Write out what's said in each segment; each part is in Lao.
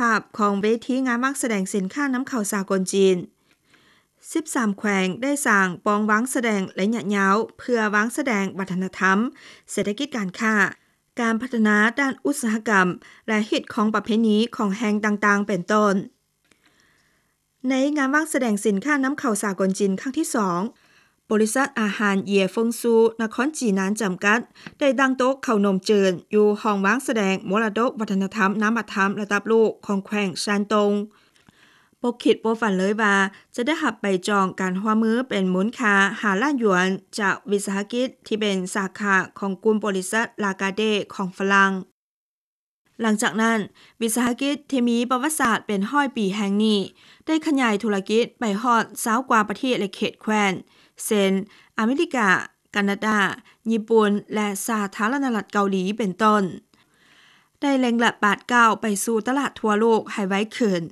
ພາບຂອງເວທີງານວາງສະແດງສິນຄ້ານຳເຂົ້າສາກົນຈີນ. ສິບສາມແຂວງໄດ້ສ້າງປ່ອງວາງສະແດງໄລຍະຍາວ ເພື່ອວາງສະແດງວັດທະນະທຳ, ເສດຖະກິດການຄ້າ, ການພັດທະນາດ້ານອຸດສາຫະກຳ ແລະ ຮີດຄອງປະເພນີຂອງແຫ່ງຕ່າງໆ ເປັນຕົ້ນ. ໃນງານວາງສະແດງສິນຄ້ານຳເຂົ້າສາກົນຈີນຄັ້ງທີສອງ, ບໍລິສັດອາຫານເຢຍເຟິງຊູ ນະຄອນຈີນນານ ຈຳກັດ ໄດ້ຕັ້ງໂຕະເຂົ້າໜົມຈືນຢູ່ຫ້ອງວາງສະແດງມໍລະດົກວັດທະນະທຳນາມະທຳລະດັບໂລກຂອງແຂວງຊານຕົງ. ບໍ່ຄິດບໍ່ຝັນເລີຍວ່າຈະໄດ້ຮັບໃບຈອງການຮ່ວມມືເປັນມູນຄ່າຫ້າລ້ານຢວນ ຈາກວິສາຫະກິດທີ່ເປັນສາຂາຂອງກຸ່ມບໍລິສັດລາກາເດຂອງຝຣັ່ງ. ຫຼັງຈາກນັ້ນ, ວິສາຫະກິດທີ່ມີປະຫວັດສາດເປັນຮ້ອຍປີແຫ່ງນີ້ ໄດ້ຂະຫຍາຍທຸລະກິດໄປຮອດຊາວກວ່າປະເທດ ແລະ ເຂດແຄວ້ນ ເຊັ່ນ ອາເມລິກາ, ການາດາ, ຍີ່ປຸ່ນ ແລະ ສາທາລະນະລັດເກົາຫຼີ ເປັນຕົ້ນ, ໄດ້ເລັ່ງລັດບາດກ້າວໄປສູ່ຕະຫຼາດທົ່ວໂລກໃຫ້ໄວຂຶ້ນ.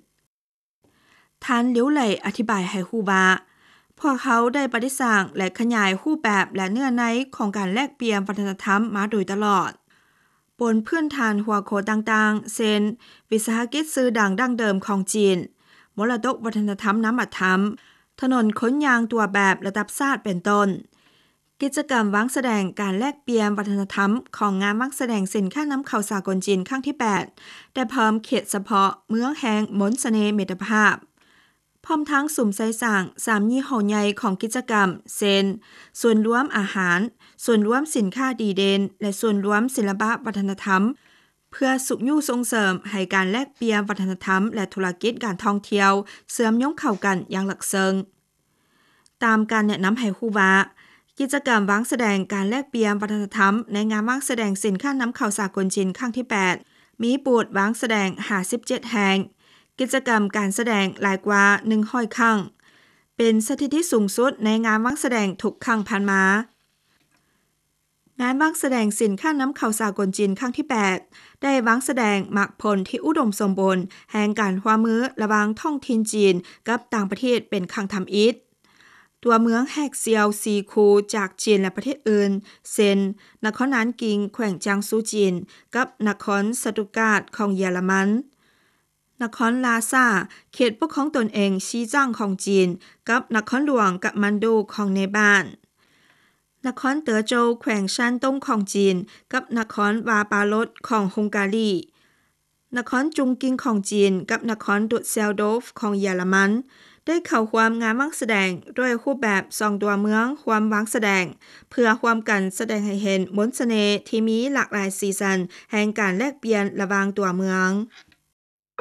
ທ່ານ ຫຼິວໄຫຼ ອະທິບາຍໃຫ້ຮູ້ວ່າ, ພວກເຮົາໄດ້ປະດິດສ້າງ ແລະ ຂະຫຍາຍຮູບແບບ ແລະ ເນື້ອໃນຂອງການແລກປ່ຽນວັດທະນະທຳມາໂດຍຕະຫຼອດ, ບົນພື້ນຖານຫົວຂໍ້ຕ່າງໆ ເຊັ່ນ ວິສາຫະກິດຊື່ດັງດັ້ງເດີມຂອງຈີນ, ມໍລະດົກວັດທະນະທຳນາມະທຳ, ຖະໜົນຄົນຍ່າງຕົວແບບລະດັບຊາດ ເປັນຕົ້ນ. ກິດຈະກຳວາງສະແດງການແລກປ່ຽນວັດທະນະທຳຂອງງານວາງສະແດງສິນຄ້ານຳເຂົ້າສາກົນຈີນຄັ້ງທີແປດ ໄດ້ເພີ່ມເຂດສະເພາະເມືອງແຫ່ງມົນສະເໜ່ມິດຕະພາບ, ພ້ອມທັງສຸມໃສ່ສ້າງສາມຍີ່ຫໍ້ໃຫຍ່ຂອງກິດຈະກຳ ເຊັ່ນ ສ່ວນລວມອາຫານ, ສ່ວນລວມສິນຄ້າດີເດັ່ນ ແລະ ສ່ວນລວມສິລະປະວັດທະນະທຳ, ເພື່ອຊຸກຍູ້ສົ່ງເສີມໃຫ້ການແລກປ່ຽນວັດທະນະທຳ ແລະ ທຸລະກິດການທ່ອງທ່ຽວເຊື່ອມໂຍງເຂົ້າກັນຢ່າງເລິກເຊິ່ງ. ຕາມການແນະນຳໃຫ້ຮູ້ວ່າ, ກິດຈະກຳວາງສະແດງການແລກປ່ຽນວັດທະນະທຳໃນງານວາງສະແດງສິນຄ້ານຳເຂົ້າສາກົນຈີນຄັ້ງທີແປດ ມີບູດວາງສະແດງຫ້າສິບເຈັດແຫ່ງ, ກິດຈະກຳການສະແດງຫຼາຍກວ່າໜຶ່ງຮ້ອຍຄັ້ງ, ເປັນສະຖິຕິສູງສຸດໃນງານວາງສະແດງທຸກຄັ້ງຜ່ານມາ. ງານວາງສະແດງສິນຄ້ານຳເຂົ້າສາກົນຈີນຄັ້ງທີແປດ ໄດ້ວາງສະແດງໝາກຜົນທີ່ອຸດົມສົມບູນແຫ່ງການຮ່ວມມືລະຫວ່າງທ້ອງຖິ່ນຈີນກັບຕ່າງປະເທດເປັນຄັ້ງທຳອິດ. ຕົວເມືອງແຮກສ່ຽວສີ່ຄູ່ຈາກຈີນ ແລະ ປະເທດອື່ນ ເຊັ່ນ ນະຄອນນານກິງ ແຂວງຈາງຊູ ຈີນ ກັບນະຄອນສະຕຸດກາດຂອງເຢຍລະມັນ, ນະຄອນລາຊາ ເຂດປົກຄອງຕົນເອງຊີຈາງຂອງຈີນ ກັບນະຄອນຫຼວງກະມານດູຂອງເນປານ, ນະຄອນເຕີໂຈວ ແຂວງຊານຕົງຂອງຈີນ ກັບນະຄອນວາປາລົດຂອງຮົງກາຣີ, ນະຄອນຈຸງກິງຂອງຈີນ ກັບນະຄອນດຸດເຊລໂດຟຂອງເຢຍລະມັນ ໄດ້ເຂົ້າຮ່ວມງານວາງສະແດງດ້ວຍຮູບແບບສອງຕົວເມືອງຮ່ວມວາງສະແດງ ເພື່ອຮ່ວມກັນສະແດງໃຫ້ເຫັນມົນສະເໜ່ທີ່ມີຫຼາກຫຼາຍສີສັນແຫ່ງການແລກປ່ຽນລະຫວ່າງຕົວເມືອງ.